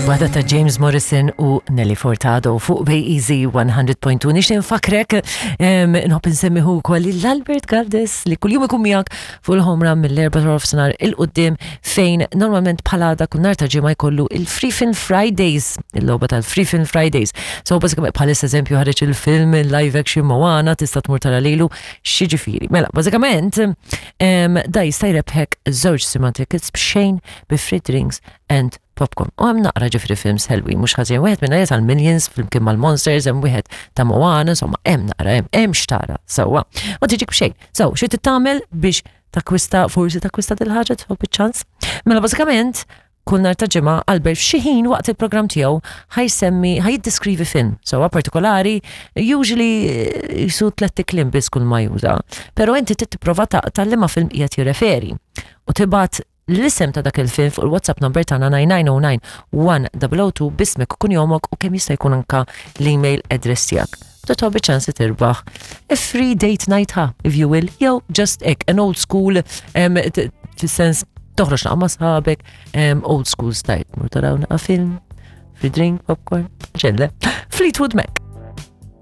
Waħda ta' James Morrison u Nelly Furtado fuq Bay Easy 100.2. Nixtieq nfakrek nħobb insemmiħu wkoll l-Albert Galdes li kuljum ikun miegħek fuq il-ħomra mill-erba' ta' nofsinhar il-qudiem fejn normalment bħala dak kull nhar ta' ġimgħa jkollu il-Free Film Fridays, il-logħba tal-Free Film Fridays. So bażikament bħalissa eżempju ħareġ il-film il-live action Moana tista' tmur tara lilu x'jiġifieri. Mela, bażikament da jista' jrebħek żewġ cinema tickets b'xejn bi free drinks and popcorn. U hemm naqra ġifri films ħelwi, mhux ħażin wieħed minn għajet għal-Minions flimkien mal-Monsters, hemm wieħed ta' Moana, insomma hemm naqra hemm hemm xtara sewwa. U tiġik b'xejn. So, xi tagħmel biex takwista forsi takwista dil-ħaġa tħobb iċ-ċans? Mela bażikament kull nhar ta' ġimgħa Albert f'xi ħin waqt il-programm tiegħu ħajsemmi ħajjiddeskrivi film sewwa partikolari, usually eh, jisu tlett kliem biss kull ma juża. Però inti trid tipprova taqta' liema film qiegħed jirreferi u tibgħat l-isem ta' dak il-film fuq il-WhatsApp number tagħna 9909 1002 b'ismek u kunjomok u kemm jista' jkun anka l-email address tiegħek. Titħobb ċans li tirbaħ a free date night ha, if you will, jew just hekk, an old school, fis-sens toħroġ naqa' ma' sħabek, old school style, mur taraw naqa' film, free drink, popcorn, ċelle. Fleetwood Mac.